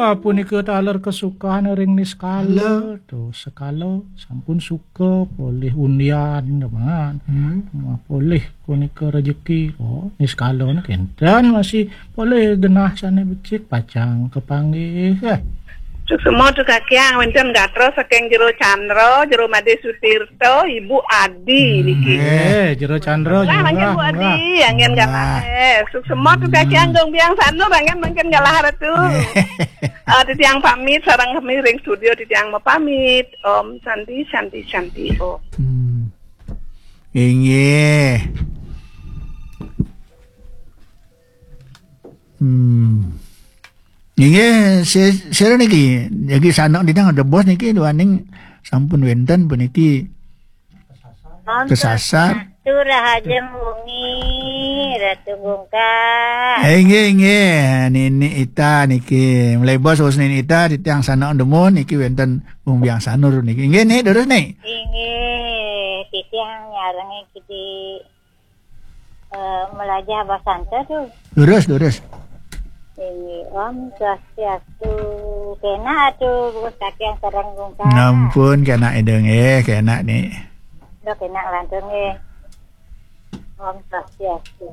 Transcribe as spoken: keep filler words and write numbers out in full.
Ah, punika taler kesukaan ring niskala. Halo. Tuh, sekala sampun suka polih undian, teman. Hmm. Wah, polih punika rejeki. Oh, niskala kénten masih polih genah sané becik pacang kapanggih. Eh. Suksma tu kakiang wénten gatra saking Jero Candra, Jero Madé Sutirta, Ibu Adi niki. Eh, Jero Candra. Nah, mangkin Bu Adi, anggén galah. Eh, suksma tu kakiang Gung Biang Sanur, anggén mangkin galah ratu. Eh, titiang pamit sareng kami ring studio, titiang mapamit. Om Santi, Santi, Santi, Om. Hmm. Inggih. Hmm. Inggih, si-, sira niki, jagi sanak didang ada bos niki, duaning sampun wénten puniki kesasar. Ratu Rahajeng Wengi, Ratu Gungkang. Eh, inggih, inggih. Nini Ita niki. Mulai bos, bos Nini Ita, titiang sanak demun niki wénten Gung Biang Sanur niki. Inggih, Nik, terus, Nik. Inggih, titiang nyarengin Kidi, eh, melajah bahasa Santa tu. Lurus, lurus. Inggih, Om Swastiastu. Kénak atu, bos kakiang sareng Gungkang. Ngampun, kénak Ida nggih, kénak, Nik. Dah kénak lantur nggih. Om Swastiastu.